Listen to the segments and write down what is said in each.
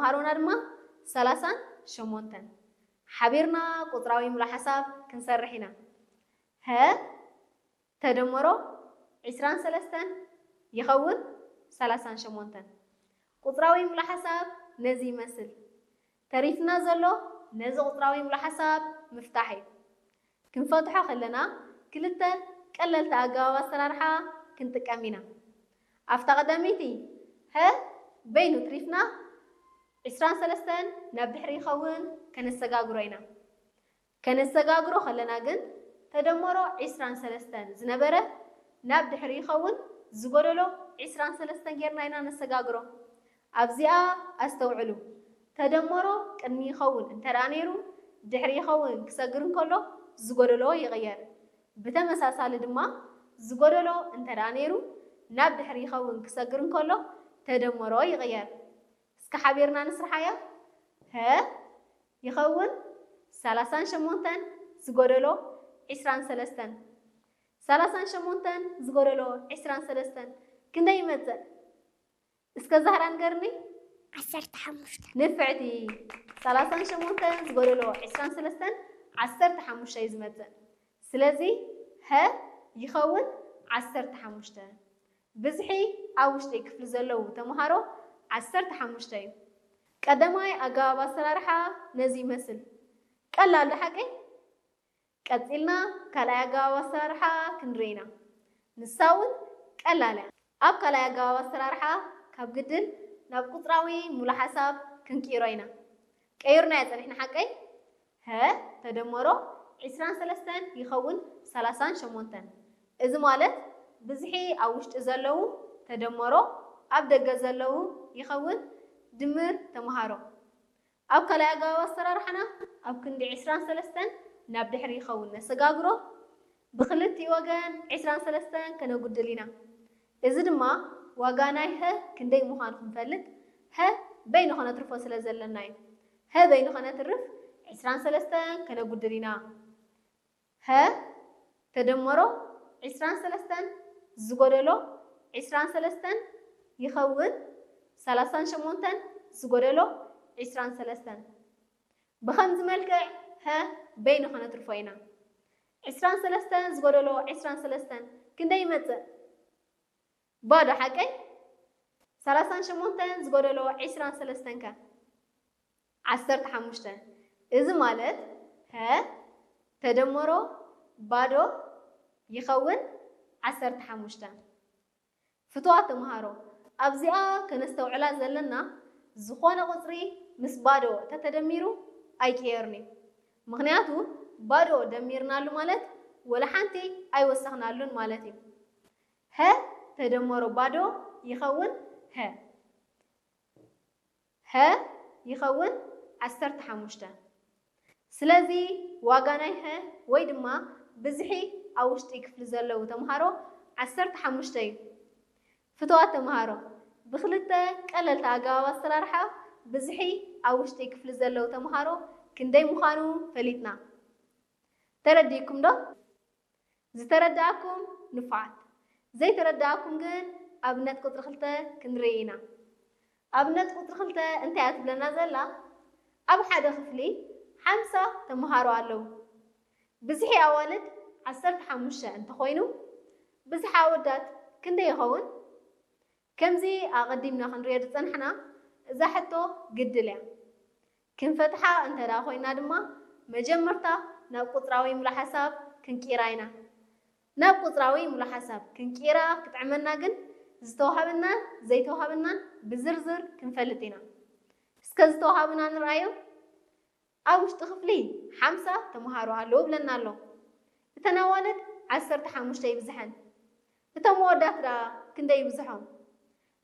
ተምሃሮና ድማ ሰላሳን ሸሞንተን። ሓቢርና ቁፅራዊ ምሉእ ሓሳብ ክንሰርሕ ኢና። ሀ ተደመሮ ዒስራን ሰለስተን ይኸውን ሰላሳን ሸሞንተን። ቁፅራዊ ምሉእ ሓሳብ ነዚ ይመስል። ተሪፍና ዘሎ ነዚ ቁፅራዊ ምሉእ ሓሳብ ምፍታሕ እዩ። ክንፈትሖ ከለና ክልተ ቀለልቲ ኣገባብ ኣሰራርሓ ክንጥቀም ኢና። ኣብታ ቀዳመይቲ ሀ በይኑ ትሪፍና ዒስራን ሰለስተን ናብ ድሕሪ ይኸውን ከነሰጋግሮ ኢና። ከነሰጋግሮ ከለና ግን ተደመሮ ዒስራን ሰለስተን ዝነበረ ናብ ድሕሪ ይኸውን ዝጎደሎ ዒስራን ሰለስተን ጌርና ኢና ነሰጋግሮ። ኣብዚኣ ኣስተውዕሉ። ተደመሮ ቅድሚ ይኸውን እንተ ደኣ ነይሩ ድሕሪ ይኸውን ክሰግር እንከሎ ዝጎደሎ ይቕየር። ብተመሳሳሊ ድማ ዝጎደሎ እንተ ደኣ ነይሩ ናብ ድሕሪ ይኸውን ክሰግር እንከሎ ተደመሮ ይቕየር። እስከ ሓቢርና ንስርሓያ። ሀ ይኸውን ሰላሳን ሸሞንተን ዝጎደሎ ዒስራን ሰለስተን። ሰላሳን ሸሞንተን ዝጎደሎ ዒስራን ሰለስተን ክንደይ ይመጽእ? እስከ ዛህራ ንገርኒ። ዓሰርተ ሓሙሽተ። ንፍዕቲ። ሰላሳን ሸሞንተን ዝጎደሎ ዒስራን ሰለስተን ዓሰርተ ሓሙሽተ እዩ ዝመጽእ። ስለዚ ሀ ይኸውን ዓሰርተ ሓሙሽተ። ብዝሒ ኣብ ውሽጢ ክፍሊ ዘለዉ ተምሃሮ ዓሰርተ ሓሙሽተ እዩ። ቀዳማይ ኣገባብ ኣሰራርሓ ነዚ ይመስል። ቀላል ዶ ሓቀይ? ቀጺልና ካልኣይ ኣገባብ ኣሰራርሓ ክንርኢ ኢና። ንሳ እውን ቀላል እያ። ኣብ ካልኣይ ኣገባብ ኣሰራርሓ ካብ ግድል ናብ ቁጽራዊ ሙሉ ሓሳብ ክንቅይሮ ኢና። ቀይርናዮ ጸኒሕና ሓቀይ? ሀ ተደመሮ ዒስራን ሰለስተን ይኸውን ሰላሳን ሸሞንተን። እዚ ማለት ብዝሒ ኣብ ውሽጢ ዘለዉ ተደመሮ ኣብ ደገ ዘለዉ ይኸውን ድምር ተምሃሮ። ኣብ ካልኣይ ኣገባብ ኣሰራርሓና ኣብ ክንዲ ዒስራን ሰለስተን ናብ ድሕሪ ይኸውን ነሰጋግሮ። ብኽልቲኡ ወገን ዒስራን ሰለስተን ከነጉድል ኢና። እዚ ድማ ዋጋ ናይ ሀ ክንደይ ምዃኑ ክንፈልጥ ሀ በይኑ ከነትርፎ ስለ ዘለና እዩ። ሀ በይኑ ከነትርፍ ዒስራን ሰለስተን ከነጉድል ኢና። ሀ ተደመሮ ዒስራን ሰለስተን ዝጎደሎ ዒስራን ሰለስተን ይኸውን ሰላሳን ሸሞንተን ዝጎደሎ ዒስራን ሰለስተን። ብኸምዚ መልክዕ ሀ በይኑ ከነትርፎ ኢና። ዒስራን ሰለስተን ዝጎደሎ ዒስራን ሰለስተን ክንደይ ይመጽእ? ባዶ ሓቀይ? ሰላሳን ሸሞንተን ዝጎደሎ ዒስራን ሰለስተን ከ? ዓሰርተ ሓሙሽተ። እዚ ማለት ሀ ተደመሮ ባዶ ይኸውን ዓሰርተ ሓሙሽተ። ፍቱዋት ተምሃሮ፣ ኣብዚኣ ከነስተውዕላ ዘለና ዝኾነ ቁፅሪ ምስ ባዶ ተተደሚሩ ኣይቅየርን እዩ። ምኽንያቱ ባዶ ደሚርናሉ ማለት ወላ ሓንቲ ኣይወሰኽናሉን ማለት እዩ። ሀ ተደመሮ ባዶ ይኸውን ሀ ሀ ይኸውን ዓሰርተ ሓሙሽተ። ስለዚ ዋጋ ናይ ሀ ወይ ድማ ብዝሒ ኣብ ውሽጢ ክፍሊ ዘለዉ ተምሃሮ ዓሰርተ ሓሙሽተ እዩ። ፍቱዋት ተምሃሮ፣ ብክልተ ቀለልቲ ኣገባብ ኣሰራርሓ ብዝሒ ኣብ ውሽጢ ክፍሊ ዘለዉ ተምሃሮ ክንደይ ምዃኑ ፈሊጥና። ተረዲእኩም ዶ? ዝተረዳእኩም ንፉዓት፣ ዘይተረዳእኩም ግን ኣብነት ቁፅሪ ክልተ ክንርኢ ኢና። ኣብነት ቁፅሪ ክልተ እንታይ እያ ትብለና ዘላ? ኣብ ሓደ ክፍሊ ሓምሳ ተምሃሮ ኣለዉ። ብዝሒ ኣዋልድ ዓሰርተ ሓሙሽተ እንተኾይኑ ብዝሒ ኣወዳት ክንደይ ይኸውን? ከምዚ ኣቐዲምና ክንሪኦ ዝጸናሕና እዛ ሕቶ ግድል እያ። ክንፈትሓ እንተ ደኣ ኮይና ድማ መጀመርታ ናብ ቁጽራዊ ምሉእ ሓሳብ ክንቅይራ ኢና። ናብ ቁጽራዊ ምሉእ ሓሳብ ክንቅይራ ክጥዕመና ግን ዝተዋህበናን ዘይተዋህበናን ብዝርዝር ክንፈልጥ ኢና። እስከ ዝተዋህቡና ንርኣዮም። ኣብ ውሽጢ ክፍሊ ሓምሳ ተምሃሮ ኣለዉ ብለና ኣሎ። እተን ኣዋልድ ዓሰርተ ሓሙሽተ ይብዝሐን። እቶም ኣወዳት ደኣ ክንደይ ይብዝሖም?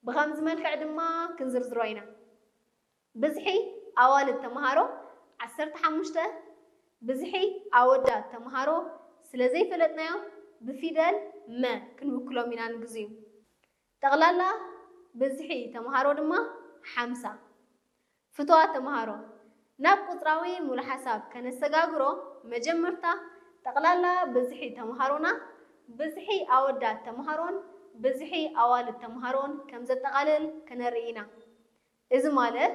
ብኸምዚ መልክዕ ድማ ክንዝርዝሮ ኢና። ብዝሒ ኣዋልድ ተምሃሮ ዓሰርተ ሓሙሽተ፣ ብዝሒ ኣወዳት ተምሃሮ ስለ ዘይፈለጥናዮም ብፊደል መ ክንውክሎም ኢና ንግዚኡ። ጠቕላላ ብዝሒ ተምሃሮ ድማ ሓምሳ። ፍቱዋት ተምሃሮ፣ ናብ ቁጽራዊ ሙሉ ሓሳብ ከነሰጋግሮ መጀመርታ ጠቕላላ ብዝሒ ተምሃሮና ብዝሒ ኣወዳት ተምሃሮን ብዝሒ ኣዋልድ ተምሃሮን ከም ዘጠቓልል ከነርኢ ኢና። እዚ ማለት